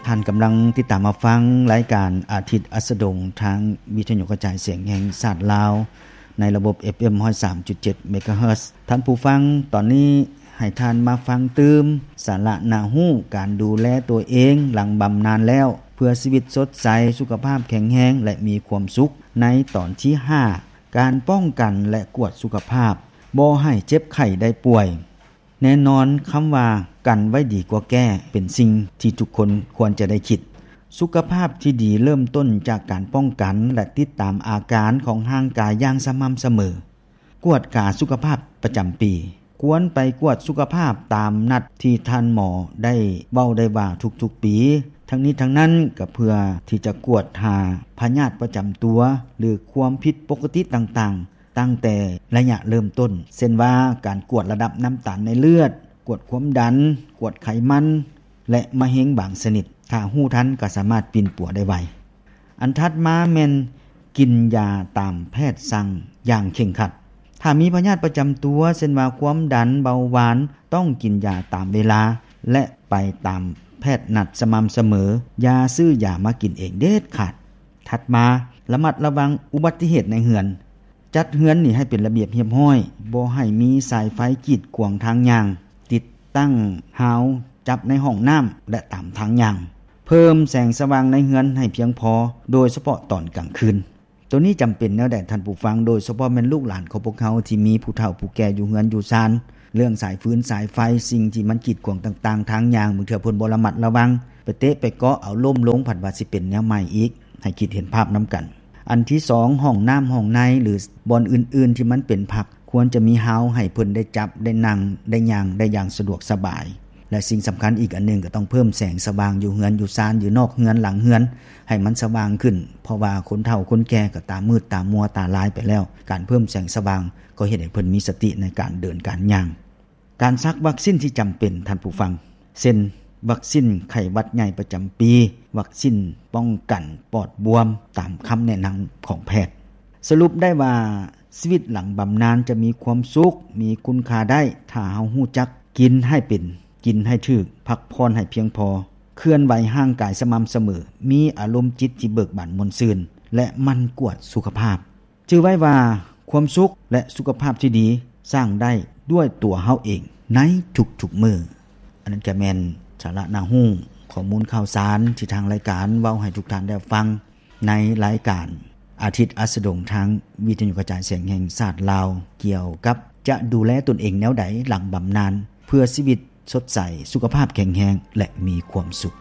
ທ່ານກຳລັງຕິດຕາມຮັບຟັງລາຍການອາທິດອັສດງ ທາງວິທະຍຸກະຈາຍສຽງແຫ່ງຊາດລາວ ໃນລະບົບ ເອັຟເອັມ ຮ້ອຍສາມຈຸດເຈັດ ເມກາເຮີດ. ທ່ານຜູ້ຟັງ, ຕອນນີ້ໃຫ້ທ່ານມາຟັງຕື່ມ ສາລະໜ້າຮູ້ ການດູແລຕົວເອງຫຼັງບຳນານແລ້ວ ເພື່ອຊີວິດສົດໃສ, ສຸຂະພາບແຂງແຮງ ແລະ ມີຄວາມສຸກ ໃນຕອນທີຫ້າ ການປ້ອງກັນ ແລະ ກວດສຸຂະພາບ ບໍ່ໃຫ້ເຈັບໄຂ້ໄດ້ປ່ວຍ. ແນ່ນອນ, ຄຳວ່າ ກັນໄວ້ດີກວ່າແກ້ ເປັນສິ່ງທີ່ທຸກຄົນຄວນຈະໄດ້ຄິດ. ສຸຂະພາບທີ່ດີເລີ່ມຕົ້ນຈາກການປ້ອງກັນ ແລະ ຕິດຕາມອາການຂອງຮ່າງກາຍຢ່າງສະໝ່ຳສະເໝີ. ກວດກາສຸຂະພາບປະຈຳປີ. ຄວນໄປກວດສຸຂະພາບຕາມນັດທີ່ທ່ານໝໍໄດ້ເວົ້າໄດ້ວ່າທຸກໆປີ. ທັງນີ້ທັງນັ້ນກໍເພື່ອທີ່ຈະກວດຫາພະຍາດປະຈຳຕົວ ຫຼື ຄວາມຜິດປົກກະຕິຕ່າງໆ ຕັ້ງແຕ່ໄລຍະເລີ່ມຕົ້ນ, ເຊັ່ນວ່າ ການກວດລະດັບນ້ຳຕານໃນເລືອດ, ກວດຄວາມດັນ, ກວດໄຂມັນ ແລະ ມະເຮັງບາງຊະນິດ. ຖ້າຮູ້ທັນກໍສາມາດປິ່ນປົວໄດ້ໄວ. ອັນຖັດມາແມ່ນກິນຢາຕາມແພດສັ່ງຢ່າງເຄັ່ງຄັດ. ຖ້າມີພະຍາດປະຈຳຕົວ ເຊັ່ນວ່າ ຄວາມດັນ, ເບົາຫວານ, ຕ້ອງກິນຢາຕາມເວລາ ແລະ ໄປຕາມແພດນັດສະໝ່ຳສະເໝີ. ຢ່າຊື້ຢາມາກິນເອງເດັດຂາດ. ຖັດມາ, ລະມັດລະວັງອຸບັດຕິເຫດໃນເຮືອນ. ຈັດເຮືອນນີ້ໃຫ້ເປັນລະບຽບຮຽບຮ້ອຍ, ບໍ່ໃຫ້ມີສາຍໄຟກີດຂວາງທາງຍ່າງ, ຕິດຕັ້ງຮາວຈັບໃນຫ້ອງນ້ຳ ແລະ ຕາມທາງຍ່າງ. ເພີ່ມແສງສະຫວ່າງໃນເຮືອນໃຫ້ພຽງພໍ, ໂດຍສະເພາະຕອນກາງຄືນ. ໂຕນີ້ຈຳເປັນແນວໃດທ່ານຜູ້ຟັງ, ໂດຍສະເພາະແມ່ນລູກຫຼານຂອງພວກເຮົາທີ່ມີຜູ້ເຖົ້າຜູ້ແກ່ຢູ່ເຮືອນຢູ່ຊານ, ເລື່ອງສາຍຟືນສາຍໄຟ, ສິ່ງທີ່ມັນກີດຂວາງຕ່າງໆ ທາງຍ່າງ, ບາງເທື່ອເພິ່ນບໍ່ລະມັດລະວັງ, ໄປເຕະໄປເກາະເອົາລົ້ມລົງ, ພັດວ່າຊິເປັນແນວໃໝ່ອີກ. ໃຫ້ຄິດເຫັນພາບນຳກັນ. ອັນທີສອງ, ຫ້ອງນ້ຳ, ຫ້ອງໃນ ຫຼື ບ່ອນອື່ນໆທີ່ມັນເປັນພັກ, ຄວນຈະມີຮາວໃຫ້ເພິ່ນໄດ້ຈັບ, ໄດ້ນັ່ງ, ໄດ້ຍ່າງໄດ້ຢ່າງສະດວກສະບາຍ. ແລະ ສິ່ງສຳຄັນອີກອັນໜຶ່ງ, ກໍຕ້ອງເພີ່ມແສງສະຫວ່າງຢູ່ເຮືອນ, ຢູ່ຊານ, ຢູ່ນອກເຮືອນ, ຫຼັງເຮືອນ, ໃຫ້ມັນສະຫວ່າງຂຶ້ນ, ເພາະວ່າຄົນເຖົ້າຄົນແກ່ກໍຕາມືດຕາມົວ, ຕາລາຍໄປແລ້ວ. ການເພີ່ມແສງສະຫວ່າງກໍເຮັດໃຫ້ເພິ່ນມີສະຕິໃນການເດີນການຍ່າງ. ການສັກວັກຊິນທີ່ຈຳເປັນ, ທ່ານຜູ້ຟັງ, ເຊັ່ນ ວັກຊິນໄຂ້ຫວັດໃຫຍ່ປະຈຳປີ, ວັກຊິນປ້ອງກັນປອດບວມ, ຕາມຄຳແນະນຳຂອງແພດ. ສະຫຼຸບໄດ້ວ່າ, ຊີວິດຫຼັງບຳນານຈະມີຄວາມສຸກ, ມີຄຸນຄ່າໄດ້, ຖ້າເຮົາຮູ້ຈັກກິນໃຫ້ເປັນ, ກິນໃຫ້ຖືກ, ພັກຜ່ອນໃຫ້ພຽງພໍ, ເຄື່ອນໄຫວຮ່າງກາຍສະໝ່ຳສະເໝີ, ມີອາລົມຈິດທີ່ເບີກບານມ່ວນຊື່ນ ແລະ ໝັ່ນກວດສຸຂະພາບ. ຈື່ໄວ້ວ່າ ຄວາມສຸກ ແລະ ສຸຂະພາບທີ່ດີ ສ້າງໄດ້ດ້ວຍຕົວເຮົາເອງໃນທຸກໆມື້. ອັນນັ້ນກໍແມ່ນສາລະໜ້າຮູ້, ຂໍ້ມູນຂ່າວສານທີ່ທາງລາຍການເວົ້າໃຫ້ທຸກທ່ານໄດ້ຟັງ ໃນລາຍການອາທິດອັສດງ ທາງວິທະຍຸກະຈາຍສຽງແຫ່ງຊາດລາວ, ກ່ຽວກັບຈະດູແລຕົນເອງແນວໃດຫຼັງບຳນານ ເພື່ອຊີວິດສົດໃສ, ສຸຂະພາບແຂງແຮງ ແລະ ມີຄວາມສຸກ.